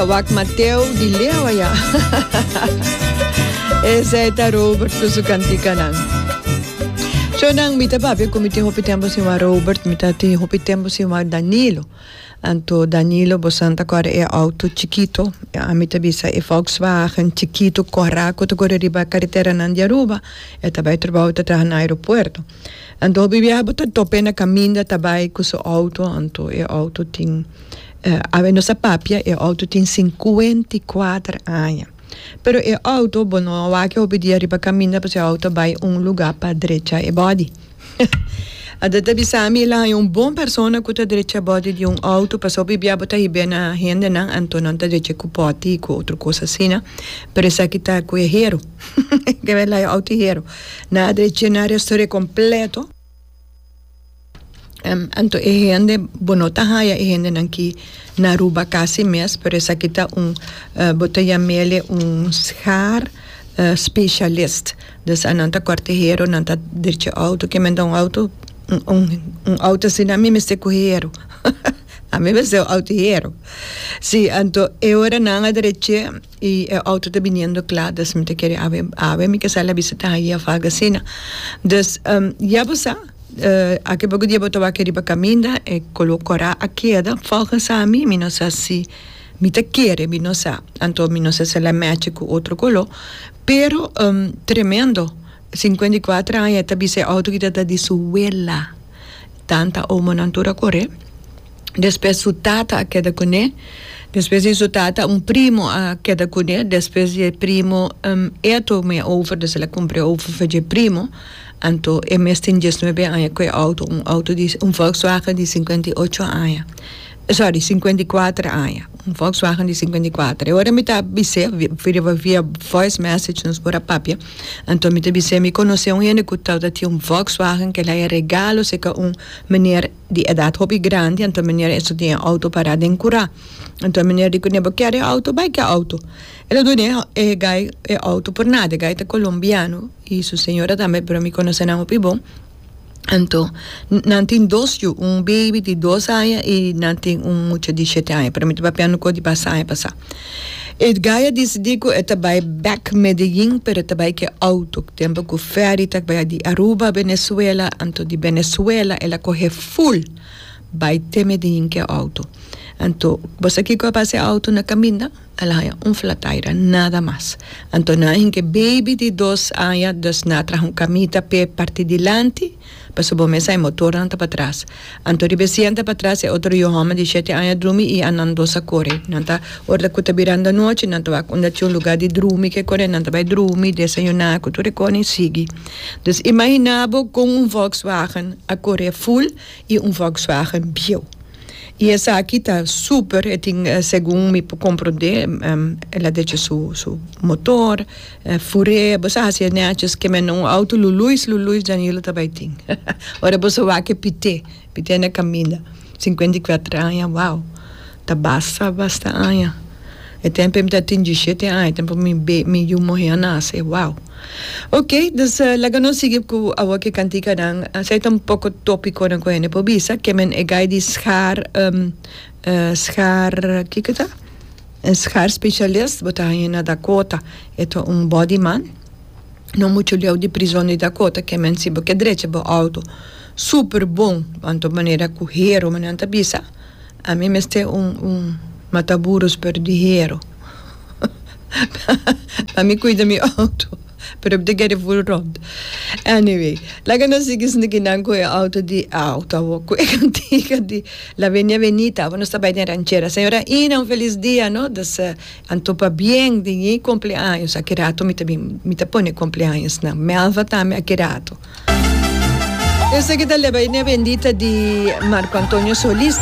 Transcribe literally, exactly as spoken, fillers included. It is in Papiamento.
Wak Mateo di leu aya. Esei ta Robert ku su kantikanan. Shonnan, mi ta papia ku mi tin hopi tempu sin wak Robert, mi ta tin hopi tempu sin wak Danilo. Anto Danilo, bosan ta kòrda e outo chikito, ami ta bisa e Volkswagen chikito kòrá ku ta kore riba kareteranan di Aruba. E ta bai trabou, ta traha na aeropuerto. Anto hopi biaha bo ta top'é na kaminda ta bai ku su outo, anto e outo tin. Awe nos a papia, e auto tin sinkuenta i kuater aña. Pero e auto bo no a wak hopi dia riba kaminda pasobra e auto a bai un lugá pa drecha e body. Anto ta bisa mi el a haña un bon persona ku ta drecha body di un auto pasobra hopi bia bo ta hib'é na hendenan anto nan ta drecha ku pòti i ku otro kos asina. Pero esaki ta ku e hero. Ke el a haña auto hero. Nan a drech'é, nan a restor'é kompleto. Anto e hende, bo no ta haya e hendenan ki na Aruba casi mes, pero esaki ta un, bo ta yam'ele un schaar specialist. Dus anan ta corta hero, nan ta drecha auto, ke men ta un auto, un un auto asina mi mester cu hero, ami mester un auto hero. Si, anto e ora nan a drech'e y e auto ta biniendo cla, dus mi ta kere awe, awe mi ke sali a bisa ta haya of algo asina. Dus ya bo sa. Aki poko dia bo ta wak riba kaminda e kolo kora a keda volgens ami mi no sa si mi ta kere mi no sa anto mi no sa si el a match ku otro kolo pero tremendo sinkuenta i kuater aña e ta bisa e outo kita ta di su wela tanta omonan tur a kore. Despues su tata a keda kuné. Despues di su tata un primo a keda kuné. Despues di e primo e a tuma e over, dus el a kumpra e over for dje primo. Anto e mes tin diesnuebe aña ku e outo, un outo di un Volkswagen di sinkuenta i ocho aña, sorry sinkuenta i kuater aña, un Volkswagen di sinkuenta i kuater. E ora mi ta bis'é riba via voice message nos por a papia, anto mi ta bis'é mi konosé un hende ku tabata tin un Volkswagen ku el a regalo serka un meneer. Di edat hopi grandi, anto meneer eso tin e auto pará den kurá. Anto meneer di kuné, Bo kier e auto? Bai ke auto. El a dun'é e gai e auto por nada. E gai ta kolombiano i su señora tambe, pero mi konosé nan hopi bon. Anto nan tin dos yu, un baby di dos aña i nan tin un mucha di shete aña, pero mi ta papiando ku di pasa aña pasá. E gai a disidí ku e ta bai bèk Medellín, pero e ta bai ku e outo. Tempu ku fèri ta bai di Aruba Venezuela, anto di Venezuela el a kohe ful bai te Medellín ku e outo. Anto bo sa kiko a pasa e outo na kaminda? El a haña un flataira, nada mas. Anto nan a hinka e baby di dos aña, dus nan a traha un kamita p'e parti dilanti. Pasobra bo mesa e motornan ta patras. Anto riba e sienta patras e otro yu hòmber di shete aña drumi i a nan dos a kore. Nan ta ora ku ta birando anochi nan ta wak unda tin un lugá di drumi ke kore nan ta bai drumi, desayuná ku tur e kos i sigui. Dus imaginá bo kon un Volkswagen a kore ful i un Volkswagen bieu. I esaki ta super, e tin segun mi por komprondé el a decha su su motor, fur'é, bo sa hasi e nètjes ke men un outo luluis luluis Danilo ta bai tin. Ora bo sa wak e pité, pité na kaminda, sinkuenta i kuater aña, wow, ta basta basta aña. E tempu mi ta tin dieshete aña, e tempu mi be mi yu muhé a nase, wow. Ok, dus laga nos sigui ku awor ki kantikanan. Esei ta un poko topikonan ku hende por bisa. Ke men e gai di schaar, schaar, kiko ta? Un schaar specialist bo ta haña na Dakota. E ta un bodyman, no muchu leu di prizon di Dakota. Ke men si bo ke drecha bo outo super bon, anto manera ku hero nan ta bisa. Ami mester un un mataburus pero di hero pa mi cuida mi auto pero mi ta kere ful rond anyway laga nos sigui esaki nan cu e auto di auto awor cu e cantica di la venia venita awor nos ta bay den ranchera señora Ina un feliz dia no dus anto pabien di ñi cumpleaños aki rato mi ta bin mi ta pone cumpleaños nan Melva tambe aki rato. Esaki ta Leba Ine Bendita di Marco Antonio Solis.